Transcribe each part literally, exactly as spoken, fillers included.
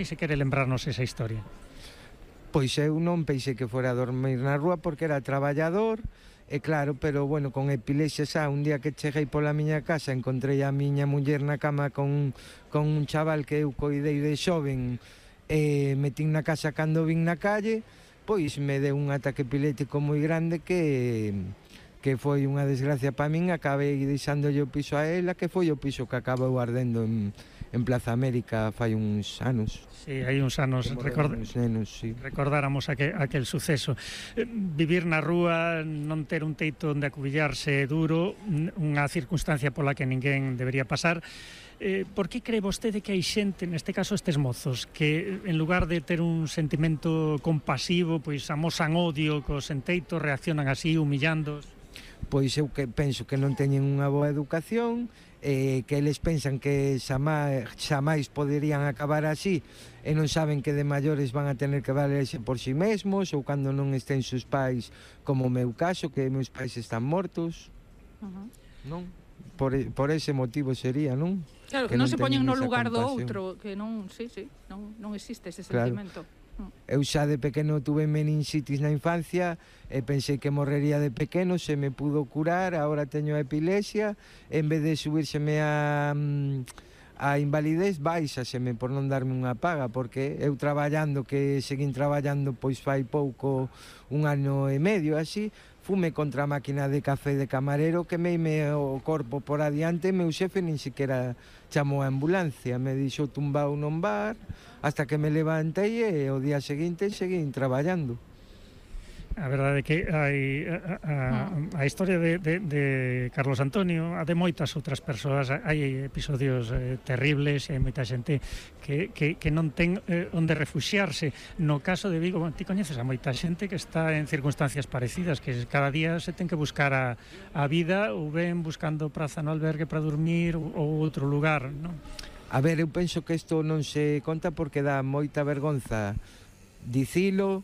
E se quere lembrarnos esa historia. Pois eu non pensei que fora a dormir na rúa porque era traballador, e claro, pero bueno, con epilepsia xa, un día que cheguei pola miña casa encontrei a miña muller na cama con, con un chaval que eu coidei de xoven, e metín na casa cando vin na calle, pois me deu un ataque epiléptico moi grande que que foi unha desgracia para min. Acabei deixándolle o piso a ela, que foi o piso que acabou ardendo en, en Plaza América fai uns anos. Sí, hai uns anos, record... uns nenos, sí. Recordáramos aquel, aquel suceso. Eh, vivir na rúa, non ter un teito onde acubillarse duro, unha circunstancia pola que ninguén debería pasar. Eh, por que cree vostede que hai xente, neste caso estes mozos, que en lugar de ter un sentimento compasivo, pois amosan odio cos sen teito, reaccionan así, humillándos? Pois eu que penso que non teñen unha boa educación, eh, que eles pensan que xamais, xamais poderían acabar así, e non saben que de maiores van a tener que valerse por si mesmos, ou cando non estén seus pais, como o meu caso, que meus pais están mortos. Uh-huh. Non? Por, por ese motivo sería, non? Claro, que, que non, non se poñen no lugar do outro, que non, sí, sí, non, non existe ese sentimento. Claro. Eu xa de pequeno tuve meningitis na infancia e pensei que morrería de pequeno, se me pudo curar, agora teño epilepsia, en vez de subírseme a, a invalidez, baixaseme por non darme unha paga, porque eu traballando, que seguín traballando pois fai pouco, un ano e medio así, fume contra a máquina de café de camarero, que meime o corpo por adiante, meu xefe nin siquiera chamou a ambulancia, me dixo tumbao non bar, hasta que me levantei e o día seguinte seguín traballando. A verdade é que hai a, a, a historia de, de, de Carlos Antonio, a de moitas outras persoas, hai episodios eh, terribles, e hai moita xente que, que, que non ten eh, onde refuxiarse. No caso de Vigo, bueno, ti coñeces a moita xente que está en circunstancias parecidas, que cada día se ten que buscar a, a vida, ou ben buscando praza no albergue para dormir ou, ou outro lugar, non? A ver, eu penso que isto non se conta porque dá moita vergonza dicilo.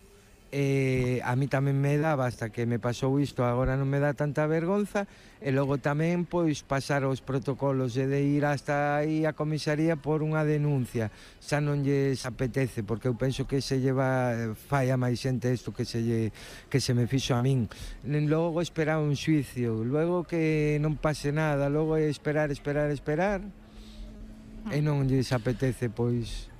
Eh, a mí tamén me daba hasta que me pasou isto, agora non me dá tanta vergonza, e logo tamén pois pasar os protocolos e de ir hasta aí a comisaría por unha denuncia, xa non lles apetece, porque eu penso que se lleva fai a máis xente isto que se lle, que se me fixo a min. Logo esperar un xuicio, logo que non pase nada, logo esperar, esperar, esperar, e non lles apetece pois.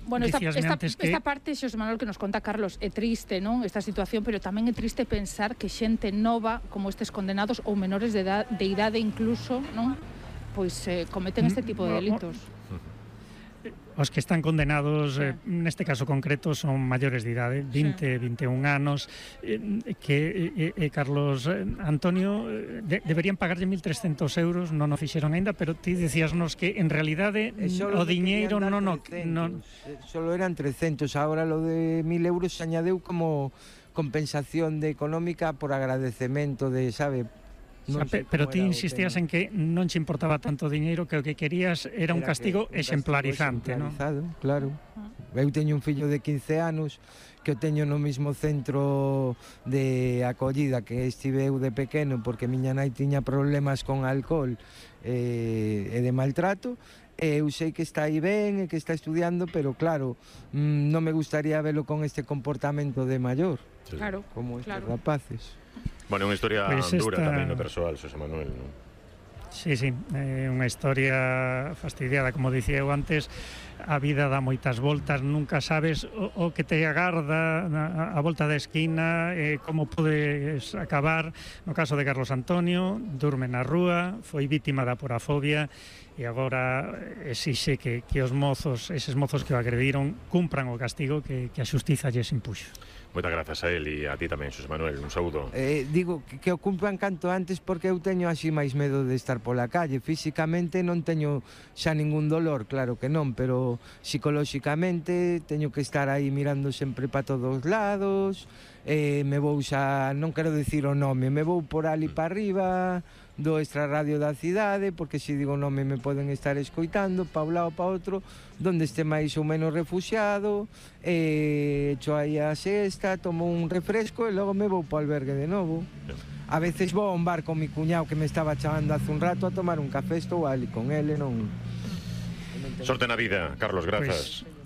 Bueno, esta, esta, que... esta parte, Xosé Manuel, que nos conta Carlos, é triste, non? Esta situación, pero tamén é triste pensar que xente nova, como estes condenados, ou menores de idade, de idade incluso, non? Pois eh, cometen este tipo de delitos. Os que están condenados, sí. eh, neste caso concreto, son maiores de idade, vinte, sí. vinte e un anos, eh, que eh, eh, Carlos eh, Antonio eh, de, deberían pagarlle mil trescentos euros, non o fixeron aínda, pero ti decíasnos que en realidade o diñeiro non o... Non... Solo eran trescentos, agora lo de mil euros se añadeu como compensación de económica por agradecemento de, sabe... No sé, pero ti insistías en que non che importaba tanto diñeiro, que o que querías era, era un castigo que, exemplarizante, non? Claro. Eu teño un fillo de quince anos que o teño no mismo centro de acollida que estive eu de pequeno, porque miña nai tiña problemas con alcohol e, e de maltrato, e eu sei que está aí ben e que está estudiando, pero claro, mmm, non me gustaría verlo con este comportamento de maior, sí. Claro, como estes claro. rapaces. Bueno, é unha historia pues dura esta... tamén no persoal, Xosé Manuel, non? Sí, sí, é unha historia fastidiada, como dicía eu antes, a vida dá moitas voltas, nunca sabes o, o que te agarda a, a volta da esquina, eh, como podes acabar. No caso de Carlos Antonio, durme na rúa, foi vítima da porafobia e agora exixe que, que os mozos, eses mozos que o agrediron, cumpran o castigo que, que a xustiza lles impuxo. Moitas grazas a él e a ti tamén, Xosé Manuel, un saúdo. Eh, digo que, que o cumplan canto antes, porque eu teño así máis medo de estar pola calle. Físicamente non teño xa ningún dolor, claro que non, pero psicolóxicamente teño que estar aí mirando sempre para todos lados, eh, me vou xa, non quero dicir o nome, me vou por ali para arriba do extrarradio da cidade, porque se digo nome me poden estar escoitando pa un lado pa outro, donde este máis ou menos refuxiado, e echo aí a sexta, tomo un refresco e logo me vou pa albergue de novo. A veces vou a un bar con mi cuñado que me estaba chamando hace un rato a tomar un café, estou ali con ele, non... Sorte na vida, Carlos, grazas. Pues...